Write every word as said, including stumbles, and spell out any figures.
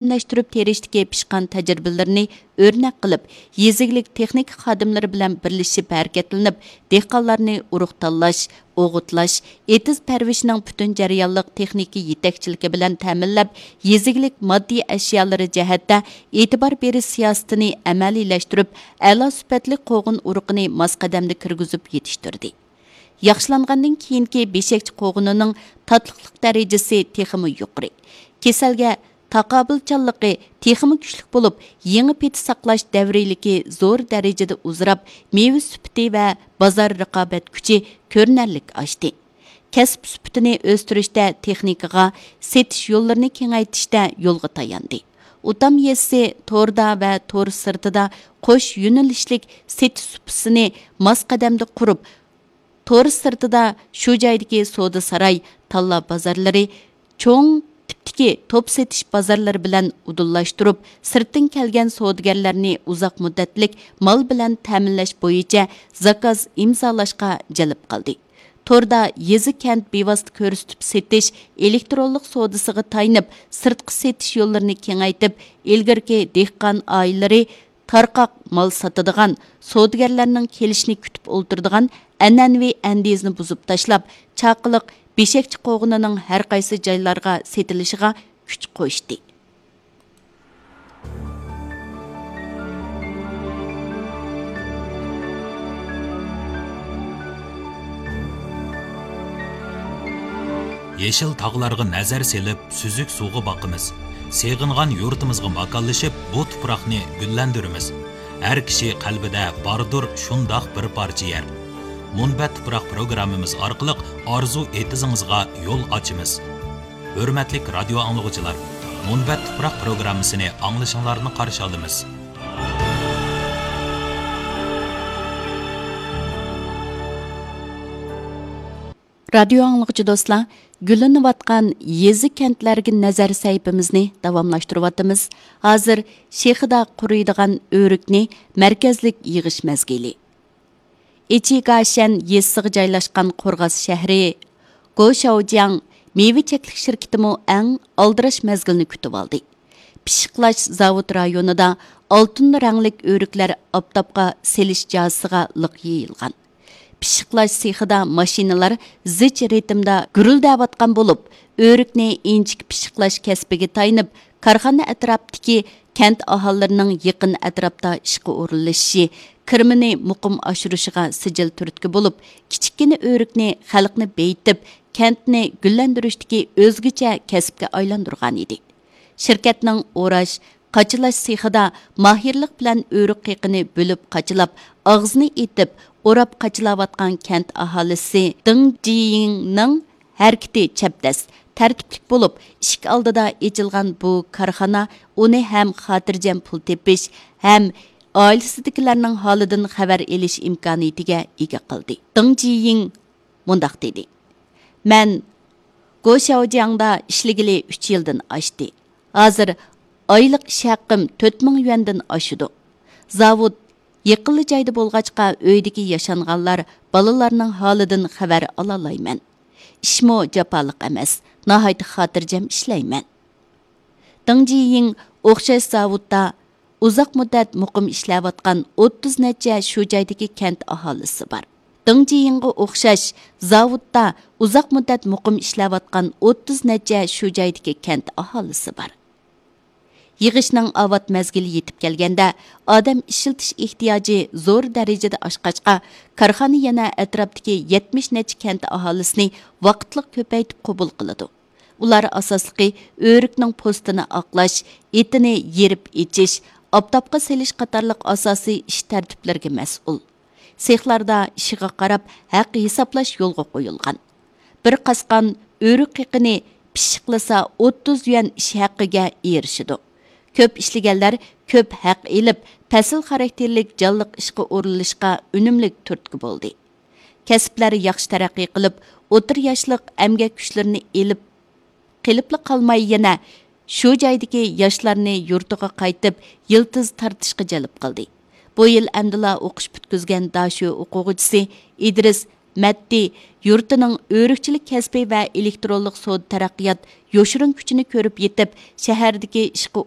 ئادەملەشتۈرۈپ تېرىشتىكى پىشقان تەجرىبىلىرىنى ئۆرنەك قىلىپ، يېزا ئىگىلىك تېخنىكا خادىملىرى بىلەن بىرلىشىپ ھەرىكەتلىنىپ، دېھقانلارنى ئۇرۇق تاللاش، ئوغۇتلاش، ئېتىز پەرۋىشىنىڭ پۈتۈن جەريانلىق تېخنىكا يېتەكچىلىكى بىلەن تەمىنلەپ، يېزا ئىگىلىك ماددىي ئەشيالىرى جەھەتتە ئېتىبار بېرىش سىياسىتىنى ئەمەلىيلەشتۈرۈپ، ئەلا سۈپەتلىك قوغۇن ئۇرۇقىنى ماس قەدەمدە كىرگۈزۈپ يېتىشتۈردى. ياخشىلاندىن كېيىنكى بېشەكچە قوغۇنىنىڭ تاتلىقلىق دەرىجىسى تېخىمۇ يۇقىرى. كېسەلگە تاقابىلچانلىقى تېخىمۇ كۈچلۈك بولۇپ، يېڭى پىتى ساقلاش دەۋرىيلىكى زور دەرىجىدە ئۇزىراپ، مېۋە سۈپىتى ۋە بازار رىقابەت كۈچى كۆرۈنەرلىك ئاشتى. كەسىپ سۈپىتىنى ئۆستۈرۈشتە تېخنىكىغا، سېتىش يوللىرىنى كېڭەيتىشتە يولغا تاياندى. ئۇتام يېزىسى توردا ۋە تور سىرتىدا قوش يۆنىلىشلىك سېتىش سۇپىسىنى ماس قەدەمدە قۇرۇپ، تور سىرتىدا شۇ جايدىكى سودا ساراي، تاللا بازارلىرى، چوڭ تىپتىكى توپ سېتىش بازارلىرى بىلەن ئۇدۇللاشتۇرۇپ، سىرتتىن كەلگەن سودىگەرلەرنى ئۇزاق مۇددەتلىك مال بىلەن تەمىنلەش بويىچە زاكاز ئىمزالاشقا جەلپ قىلدى. توردا يېزا، كەنت بىۋاسىتە كۆرسىتىپ سېتىش ئېلېكترونلۇق سودىسىغا تايىنىپ، سىرتقا سېتىش يوللىرىنى كېڭەيتىپ، ئىلگىرىكى دېھقان ئائىلىلىرى تارقاق مال ساتىدىغان سودىگەرلەرنىڭ كېلىشىنى كۈتۈپ ئولتۇرىدىغان ئەنئەنىۋى ئەندىزىنى بۇزۇپ تاشلاپ، چاقىلىق بېشەكچە قوغۇنىنىڭ ھەر قايسى جايلارغا سېتىلىشىغا كۈچ قوشتى. يېشىل تاغلارغا نەزەر سېلىپ، سۈزۈك سۇغا باقىمىز. سېغىنغان يۇرتىمىزغا ماكانلىشىپ، بۇ تۇپراقنى گۈللەندۈرىمىز. ھەر كىشى قەلبىدە باردۇر شۇنداق بىر پارچە يەر. مۇنبەت تۇپراق پروگراممىمىز ئارقىلىق ئارزۇ ئېتىزىڭىزغا يول ئاچىمىز. ھۆرمەتلىك رادىيو ئاڭلىغۇچىلار، مۇنبەت تۇپراق پروگراممىسىنى ئاڭلىشىڭلارنى قارشى ئالىمىز. رادىيو ئاڭلىغۇچى دوستلار، گۈللىنىۋاتقان يېزا، كەنتلەرگە نەزەر سەھىپىمىزنى داۋاملاشتۇرۇۋاتىمىز. ھازىر شېخىدا قۇرۇيدىغان ئۆرۈكنى مەركەزلىك يىغىش مەزگىلى. ئىچىگاشەن يېزىسىغا جايلاشقان قورغاس شەھىرى گوشاۋجياڭ مېۋە چەكلىك شىركىتىمۇ ئەڭ ئالدىراش مەزگىلنى كۈتۈۋالدى. پىششىقلاش زاۋۇت رايونىدا ئالتۇن رەڭلىك ئۆرۈكلەر ئاپتاپقا سېلىش جازىسىغا لىق يېيىلغان. پىششىقلاش سېخىدا ماشىنىلار زىچ رىتىمدا گۈرۈلدەۋاتقان بولۇپ، ئۆرۈكنى ئىنچىكە پىششىقلاش كەسپىگە تايىنىپ، كارخانا ئەتراپتىكى كەنت ئاھالىلىرىنىڭ يېقىن ئەتراپتا ئىشقا ئورۇنلىشىشى، كىرىمىنى مۇقىم ئاشۇرۇشىغا سىجىل تۈرتكە بولۇپ، كىچىككىنە ئۆرۈكنى خەلقنى بېيىتىپ، كەنتنى گۈللەندۈرۈشتىكى ئۆزگىچە كەسىپكە ئايلاندۇرغانىدى. شىركەتنىڭ ئوراش، قاچىلاش سېخىدا ماھىرلىق بىلەن ئۆرۈك قېقىنى بۆلۈپ قاچىلاپ، ئاغزىنى ئېتىپ، ئوراپ قاچىلاۋاتقان كەنت ئاھالىسى دېڭ جىيىڭنىڭ ھەرىكىتى چەپدەس، تەرتىپلىك بولۇپ، ئىشىك ئالدىدا ئېچىلغان بۇ كارخانا ئۇنى ھەم خاتىرجەم پۇل تېپىش، ھەم ئائىلىسىدىكىلەرنىڭ ھالىدىن خەۋەر ئېلىش ئىمكانىيىتىگە ئىگە قىلدى. دېڭ جىيىڭ مۇنداق دېدى: مەن گوشاۋجياڭدا ئىشلىگىلى ئۈچ يىلدىن ئاشتى. ھازىر ئايلىق ئىش ھەققىم تۆت مىڭ يۈەندىن ئاشىدۇ. زاۋۇت يېقىنلا جايدا بولغاچقا، ئۆيدىكى ياشانغانلار، بالىلارنىڭ ھالىدىن خەۋەر ئالالايمەن. ئىشمۇ جاپالىق ئەمەس، ناھايىتى خاتىرجەم ئىشلەيمەن. دېڭ جىيىڭ ئوخشاش زاۋۇتتا ئۇزاق مۇددەت مۇقىم ئىشلەۋاتقان ئوتتۇز نەچچە شۇ جايدىكى كەنت ئاھالىسى بار. دېڭ جىيىڭغا ئوخشاش زاۋۇتتا ئۇزاق مۇددەت مۇقىم ئىشلەۋاتقان ئوتتۇز نەچچە شۇ جايدىكى كەنت ئاھالىسى بار. يىغىشنىڭ ئاۋات مەزگىلى يېتىپ كەلگەندە، ئادەم ئىشلىتىش ئېھتىياجى زور دەرىجىدە ئاشقاچقا، كارخانا يەنە ئەتراپتىكى يەتمىش نەچچە كەنت ئاھالىسىنى ۋاقىتلىق كۆپەيتىپ قوبۇل قىلىدۇ. ئۇلار ئاساسلىقى ئۆرۈكنىڭ پوستىنى ئاقلاش، ئېتىنى يېرىپ ئېچىش، ئاپتاپقا سېلىش قاتارلىق ئاساسىي ئىش تەرتىپلىرىگە مەسئۇل. سېخلاردا ئىشىغا قاراپ ھەق ھېسابلاش يولغا قويۇلغان. بىر قاسقان ئۆرۈك قېقىنى پىششىقلىسا، ئوتتۇز يۈەن ئىش ھەققىگە ئېرىشىدۇ. كۆپ ئىشلىگەنلەر كۆپ ھەق ئېلىپ، پەسىل خاراكتېرلىك جانلىق ئىشقا ئورۇنلىشىشقا ئۈنۈملۈك تۈرتكە بولدى. كەسىپلەر ياخشى تەرەققىي قىلىپ، ئوتتۇرا ياشلىق ئەمگەك كۈچلىرىنى ئېلىپ قېلىپلا قالماي، يەنە شۇ جايدىكى ياشلارنى يۇرتىغا قايتىپ، يىلتىز تارتىشقا جەلپ قىلدى. بۇ يىل ئەمدىلا ئوقۇش پۈتكۈزگەن داشۆ ئوقۇغۇچىسى ئىدرىس مەددى يۇرتىنىڭ ئۆرۈكچىلىك كەسپى ۋە ئېلېكترونلۇق سودا تەرەققىيات يوشۇرۇن كۈچىنى كۆرۈپ يېتىپ، شەھەردىكى ئىشقا